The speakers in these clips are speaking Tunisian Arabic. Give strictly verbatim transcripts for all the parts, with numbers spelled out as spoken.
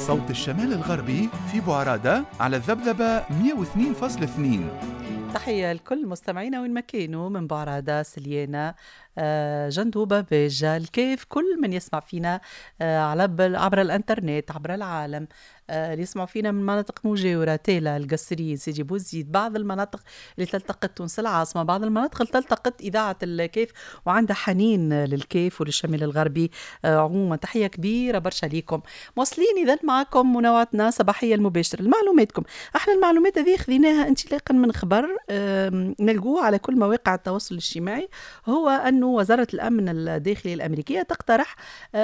صوت الشمال الغربي في بوعرادة على الذبذبة مئة واثنين فاصلة اثنين. تحية لكل مستمعينا وين ما كانوا من بعرادة، سليانة، آه، جندوبة، باجة، الكيف، كل من يسمع فينا آه، على عبر الانترنت عبر العالم، آه، اللي يسمعوا فينا من مناطق مجاورة، تالا، القصرين، سيدي بوزيد، بعض المناطق اللي تلتقط تونس العاصمة، بعض المناطق اللي تلتقط إذاعة الكيف وعندها حنين للكيف وللشمال الغربي عموما. تحية كبيرة برشا ليكم. واصلين إذا معكم منوعتنا صباحية المباشرة لمعلوماتكم. احنا المعلومات هذه خذيناها انطلاقا من خبر نلقوه على كل مواقع التواصل الاجتماعي، هو أنه وزارة الأمن الداخلي الأمريكية تقترح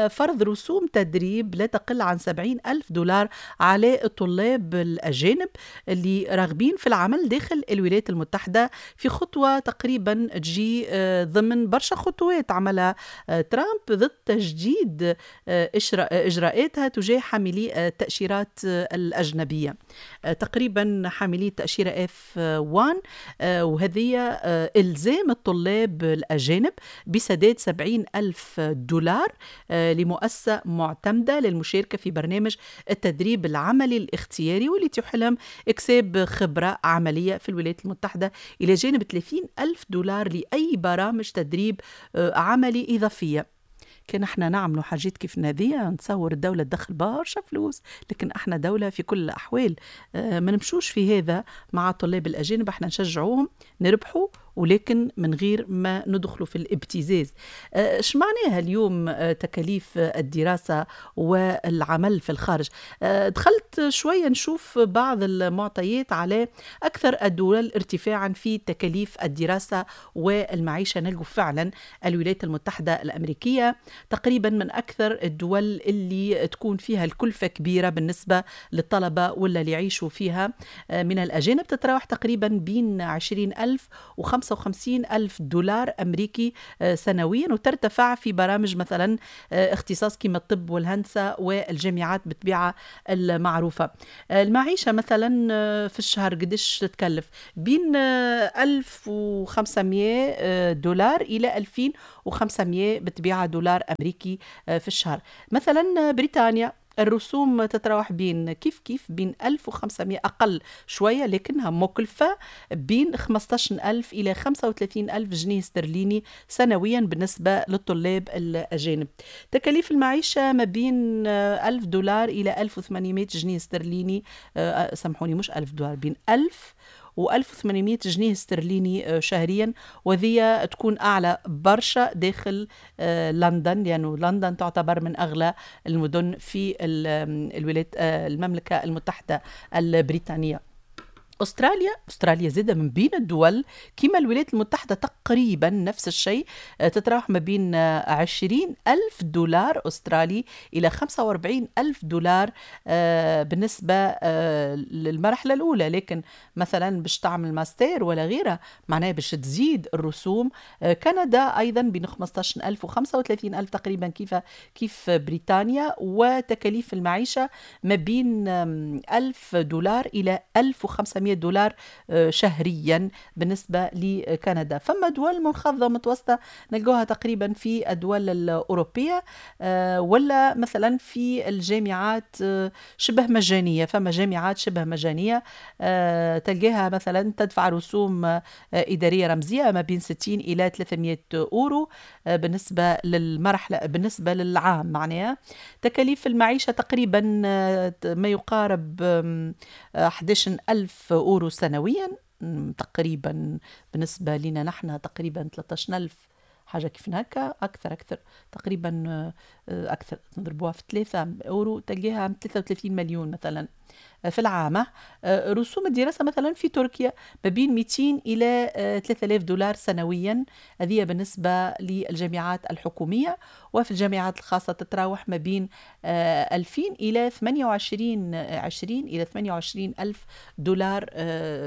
فرض رسوم تدريب لا تقل عن سبعين ألف دولار على الطلاب الأجانب اللي راغبين في العمل داخل الولايات المتحدة، في خطوة تقريبا تجي ضمن برشا خطوات عملها ترامب ضد تجديد إجراءاتها تجاه حاملي التأشيرات الأجنبية، تقريبا حاملي التأشيرة إف واحد، وهذه إلزام الطلاب الأجانب بسداد سبعين ألف دولار لمؤسسة معتمدة للمشاركة في برنامج التدريب العملي الاختياري واللي يتيح لهم إكساب خبرة عملية في الولايات المتحدة، إلى جانب ثلاثين ألف دولار لأي برامج تدريب عملي إضافية. كان احنا نعملوا حاجات كيف هذه نتصور الدولة تدخل برشا فلوس، لكن احنا دولة في كل الأحوال ما نمشوش في هذا مع الطلاب الأجانب، احنا نشجعوهم نربحوا ولكن من غير ما ندخلوا في الابتزاز. اش معناها اليوم تكاليف الدراسة والعمل في الخارج؟ دخلت شوية نشوف بعض المعطيات على أكثر الدول ارتفاعا في تكاليف الدراسة والمعيشة. نلقوا فعلا الولايات المتحدة الأمريكية تقريبا من أكثر الدول اللي تكون فيها الكلفة كبيرة بالنسبة للطلبة ولا اللي يعيشوا فيها من الأجانب، تتراوح تقريبا بين عشرين ألف وخمسة وخمسين ألف دولار أمريكي سنويا، وترتفع في برامج مثلا اختصاص كما الطب والهندسة والجامعات بالطبيعة المعروفة. المعيشة مثلا في الشهر قديش تتكلف؟ بين ألف وخمسمية دولار إلى ألفين وخمسمية بالطبيعة دولار أمريكي في الشهر. مثلا بريطانيا الرسوم تتراوح بين كيف كيف بين ألف وخمسمية أقل شوية لكنها مكلفة، بين خمسة عشر ألف إلى خمسة وثلاثين ألف جنيه استرليني سنويا بالنسبة للطلاب الأجانب. تكاليف المعيشة ما بين ألف دولار إلى ألف وثمانمية جنيه استرليني، سامحوني مش ألف دولار، بين ألف وألف وثمانمية جنيه استرليني شهريا، وذي تكون أعلى برشا داخل لندن، لأنه لندن تعتبر من أغلى المدن في الولايات المملكة المتحدة البريطانية. أستراليا أستراليا زادة من بين الدول كما الولايات المتحدة تقريبا نفس الشيء، تتراوح ما بين عشرين ألف دولار أسترالي إلى خمسة وأربعين ألف دولار بالنسبة للمرحلة الأولى، لكن مثلا باش تعمل ماستر ولا غيرها معناها باش تزيد الرسوم. كندا أيضا بين خمسة عشر ألف وخمسة وثلاثين ألف تقريبا كيف كيف بريطانيا، وتكاليف المعيشة ما بين ألف دولار إلى ألف وخمسمية دولار شهريا بالنسبة لكندا. فما دول منخفضة متوسطة نلقوها تقريبا في الدول الأوروبية، ولا مثلا في الجامعات شبه مجانية، فما جامعات شبه مجانية تلقاها مثلا تدفع رسوم إدارية رمزية ما بين ستين إلى ثلاثمية أورو بالنسبة للمرحلة بالنسبة للعام. معناها تكاليف المعيشة تقريبا ما يقارب أحد عشر ألف أورو سنويا تقريبا، بالنسبة لنا نحن تقريبا ثلاثة عشر ألف حاجة كيف هكا، أكثر أكثر تقريبا أكثر، نضربوها في ثلاثة أورو تلقاها ثلاثة وثلاثين مليون مثلا في العام. رسوم الدراسة مثلا في تركيا ما بين مئتين إلى ثلاثة آلاف دولار سنويا، هذه بالنسبة للجامعات الحكومية، وفي الجامعات الخاصة تتراوح ما بين ألفين إلى ثمانية وعشرين عشرين إلى ثمانية وعشرين ألف دولار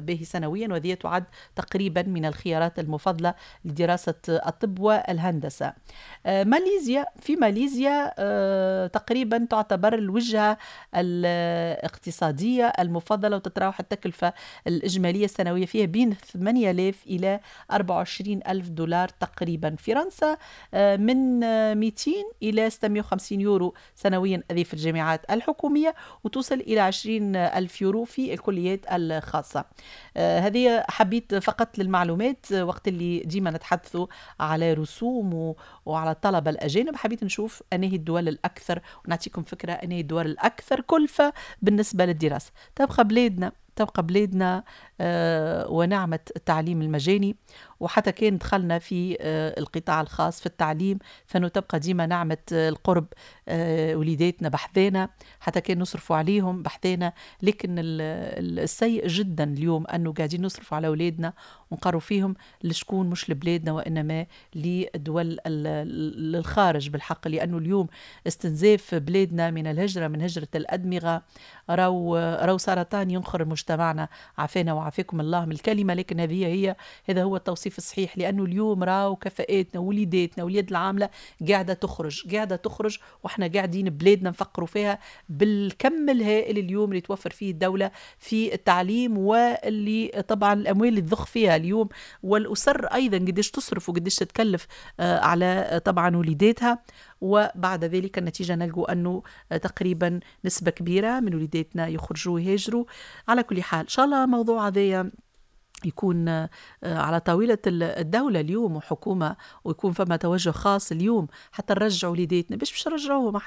به سنويا، وهذه تعد تقريبا من الخيارات المفضلة لدراسة الطب والهندسة. ماليزيا، في ماليزيا تقريبا تعتبر الوجهة الاقتصادية الاقتصادية المفضلة، وتتراوح التكلفة الإجمالية السنوية فيها بين ثمانية آلاف إلى أربعة وعشرين ألف دولار تقريبا. فرنسا من مئتين إلى ستمائة وخمسين يورو سنويا هذه في الجامعات الحكومية، وتوصل إلى عشرين ألف يورو في الكليات الخاصة. هذه حبيت فقط للمعلومات وقت اللي ديما نتحدثوا على رسوم وعلى الطلبة الأجانب، حبيت نشوف أنهي الدول الأكثر ونعطيكم فكرة أنهي الدول الأكثر كلفة بالنسبة للدراسة. تبقى بلادنا تبقى بلادنا آه ونعمة التعليم المجاني، وحتى كان دخلنا في آه القطاع الخاص في التعليم فإنه تبقى ديما نعمة القرب، آه وليداتنا بحذانا حتى كان نصرفوا عليهم بحذانا. لكن السيء جدا اليوم أنه قاعدين نصرفوا على أولادنا ونقروا فيهم لشكون، مش لبلادنا وإنما لدول للخارج بالحق، لأنه اليوم استنزاف بلادنا من الهجرة، من هجرة الأدمغة، راو راو سرطان ينخر مجتمعنا، عافانا وعافاكم الله من الكلمة، لكن هذه هي هذا هو التوصيف الصحيح. لأنه اليوم راو كفاءاتنا وليداتنا واليد العاملة قاعدة تخرج قاعدة تخرج وإحنا قاعدين بلادنا نفكروا فيها بالكم الهائل اليوم اللي توفر فيه الدولة في التعليم، واللي طبعا الأموال اللي تضخ فيها اليوم، والأسر أيضا قديش تصرف وقديش تتكلف على طبعا وليداتها. وبعد ذلك النتيجة نلقوا أنه تقريبا نسبة كبيرة من وليداتنا يخرجوا ويهاجروا. على كل حال إن شاء الله موضوع هذايا يكون على طاولة الدولة اليوم وحكومة، ويكون فما توجه خاص اليوم حتى نرجعوا وليداتنا. باش باش نرجعوهم،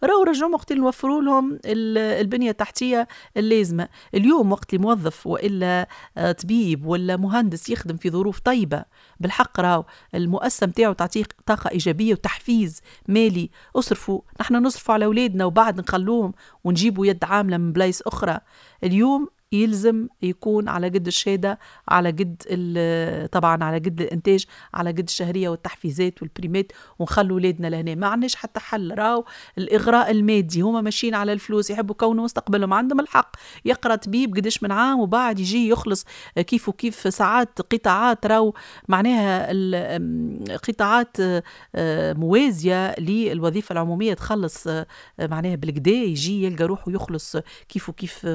راهو رجعوهم وقت اللي نوفروا لهم البنية التحتية اللازمة. اليوم وقت اللي موظف وإلا طبيب ولا مهندس يخدم في ظروف طيبة بالحق، راهو المؤسسة متاعو تعطيه طاقة إيجابية وتحفيز مالي. اصرفوا، نحن نصرفوا على أولادنا وبعد نخلوهم ونجيبوا يد عاملة من بلايص أخرى. اليوم يلزم يكون على قد الشهادة، على قد طبعا على قد الإنتاج، على قد الشهرية والتحفيزات والبريمات، ونخلوا ولادنا لهنا. ما عندناش حتى حل. راو الإغراء المادي، هما ماشيين على الفلوس، يحبوا كونوا مستقبلهم، عندهم الحق. يقرأ طبيب قداش من عام وبعد يجي يخلص كيف وكيف. ساعات قطاعات راو معناها قطاعات موازية للوظيفة العمومية تخلص معناها بالكدا، يجي يلقى روحه يخلص كيف وكيف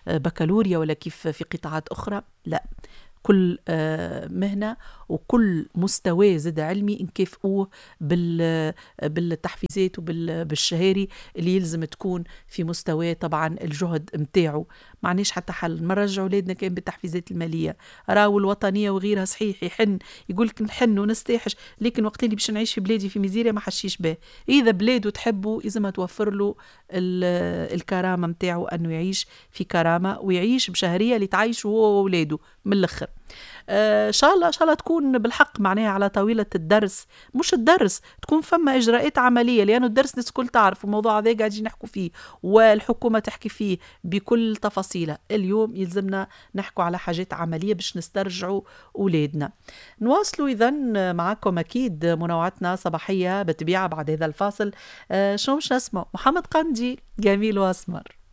بكالوريا ولا كيف في قطاعات أخرى. لا، كل مهنة وكل مستوى زاد علمي نكافئوه بالتحفيزات وبالشهاري اللي يلزم تكون في مستوى طبعا الجهد متاعه. معناش حتى حل. ما نرجعوا ولادنا كان بالتحفيزات المالية، راو الوطنية وغيرها صحيح يحن، يقولك نحن ونستاحش، لكن وقت اللي باش نعيش في بلادي في ميزيريا ما حشيش به. إذا بلاده تحبه إذا ما توفر له الكرامة متاعه، أنه يعيش في كرامة ويعيش بشهرية اللي تعيشه هو وولاده من الآخر. ان شاء الله ان شاء الله تكون بالحق معناها على طاولة الدرس، مش الدرس، تكون فما اجراءات عملية، لانه الدرس الناس الكل تعرف الموضوع هذا قاعدين نحكوا فيه والحكومة تحكي فيه بكل تفاصيله. اليوم يلزمنا نحكوا على حاجات عملية باش نسترجعوا اولادنا. نواصلوا اذا معكم اكيد منوعتنا صباحية بالطبيعة بعد هذا الفاصل. آه شنو باش نسمع؟ محمد قندي، جميل واسمر.